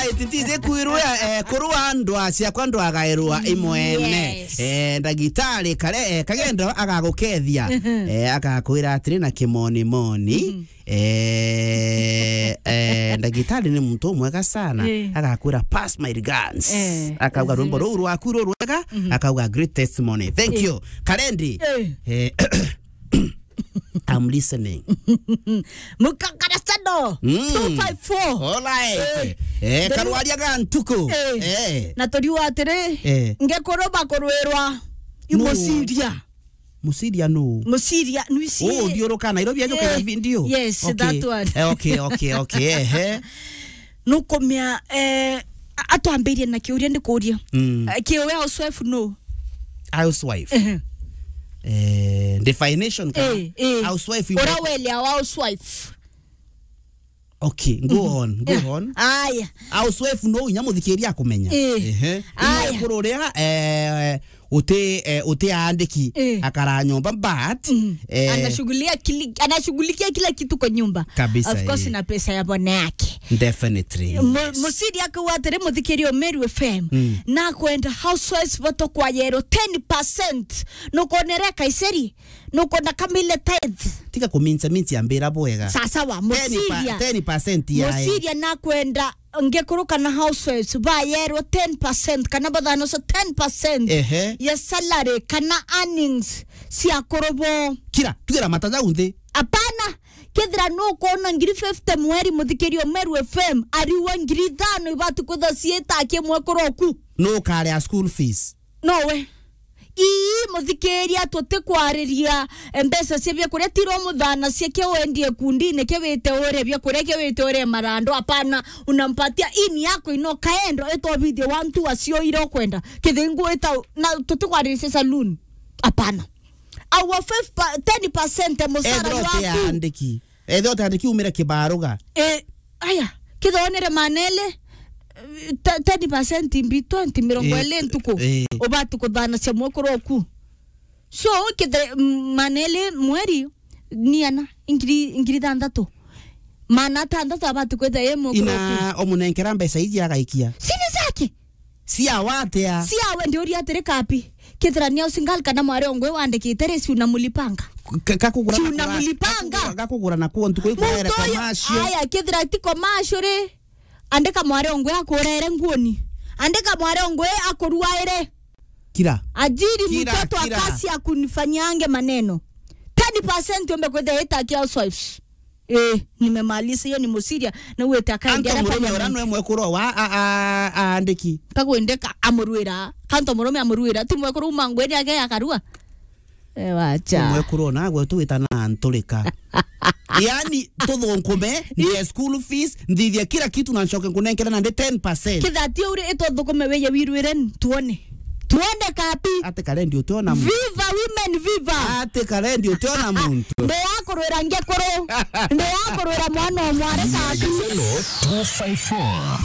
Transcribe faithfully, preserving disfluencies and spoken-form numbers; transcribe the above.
Alright, ntizi kwirwa, eh, kurwa ndwa ciakwa ndwagairwa imwene. Yes. Eh, ndagitari kare, eh, kagendo agagukethia. Eh, agakwira atiri na kimoni moni. Eh, eh, ndagitari ni muntu mwega sana. Eh. Agakwira, "Pass my guns." Eh, akauga, "Rwimbo ruu rwaku ru rwega." Akauga, "Great testimony. Thank you." Karendi. Eh. Eh, I'm listening. Mukakara Sado, Mm. two five four. All right. Eh, Eh, the karwaria ga ntuku. Eh. Eh. Na turiuga atiri, Eh. ngekuru bakurwirwa No. imuciria. Muciria no? Muciria, nwisi. Oh, ndiuruka Nairobi ajuka Eh. hivi ndio? Yes, Okay. that one. Eh, okay, okay, okay. Ehe. Nukumia, eh, a-, atwambirie na kiuria ndikuria. Mm. Eh, kiuria housewife no? Housewife. Ehe. Eh, definition ka Eh, eh. housewife. Ura welia wa housewife. Okay, go on, go on. Aya. Housewife no inya muthikiria akumenya. Eh. Ehe. Aya. Inya kururia, eh, uti, eh, uti aandiki. Eh. Akara nyomba, but, Mm. eh, Anashughulia kili-, anashughulikia kila kitu kwa nyumba. Kabisa, Of course, eh. na pesa ya bwana yake. Definitely, Mu-, yes. Muciria akauga atiri, muthikiria Meru F M, Mm. na kwenda housewives bato kwa yero ten percent. Nukonere Kaiseri, nukona kamile tithe. Tiga kumincha minchi ambira bwega. Sawa sawa, Ten pa-, muciria. ten percent ya Muciria nakwenda ngekuru kana housewives bayerwo ten percent kana bathanoco ten percent Ehe. ya salary kana earnings cia kurubo. Kira, tugira mataja unthi. Apana, kethira nukwona ngiri fifty mweri, muthikiria Meru F M, ariwa ngiri ithano ibati kwitha ciita kimwe kuroku. Nukarea school fees. Nowe. Ii, muthikiria, tutikwariria, eh, mbeca cia biakuria, tiro muthana cia kia wendie kundine, kia wite ure biakuria, kia wite ure marando, apana, unampatia ini yako ino kaendo, itobithie wantu acio ira ukwenda. Kithingu ita, na tutikwariria cia saloon. Apana. Awa five pa-, ten percent ya musara Ethira uti waku. Andiki. Ethe uti andiki umire kibaruga. Eh, aya, kithonere manele, eh, te-, ten percent mbi twenty, mirongo Eh, iri ntuku. eh. Ubati kuthanacia mwekuru oku. So, kithe, m-, manele mweri, ni ana, ingiri, ingiri thanthatu. Mana thanthatu abati kwitha ye mwekuru oku. Ina omunenkera mbeca iji agaikia. Sini zake. Cia watia? Cia we, ndiuria atiri kapi. Kethira ni au single kana mwari ongwe wandikite ri, si unamlipanga? Ka-, gakugura Si na kura-, unamlipanga? Gakugura, gakugura na kuo ntuku ikurere Muntu uyu, commercial. Aya, kethira ti commercial ri, andika mwari ongwe akurere nguoni. Andika mwari ongwe akuruaire. Kira. Ajiri Kira, mtoto kira. Akasi akunifanyange maneno. Ten percent ombe kwetha ita ki housewives. Eh, nimemaliza hiyo, ni musiria, na uwete akaendia Anto na murume ura parliament. Nwe mwekuru wa a, a, aandiki. Kagwendeka amurwira, kanto murume amurwira, ti mwekuru uma ngwene age akarua. Eh, wacha. Mwekuru ona gwe tu witana nturika. Yani, tuthunkume, ndie school fees, nthithie kila kitu na ncoke nkunenkere na ndi ten percent. Kithati uri ituthukume weye wirwire tuone. Tuone kapi. Ati Karendi utiona muntu. Viva women, viva. Ati Karendi utiona muntu. Ndi ya kurwira ngekuru. Ndi ya kurwira mwana o mwari kapi. Two five four.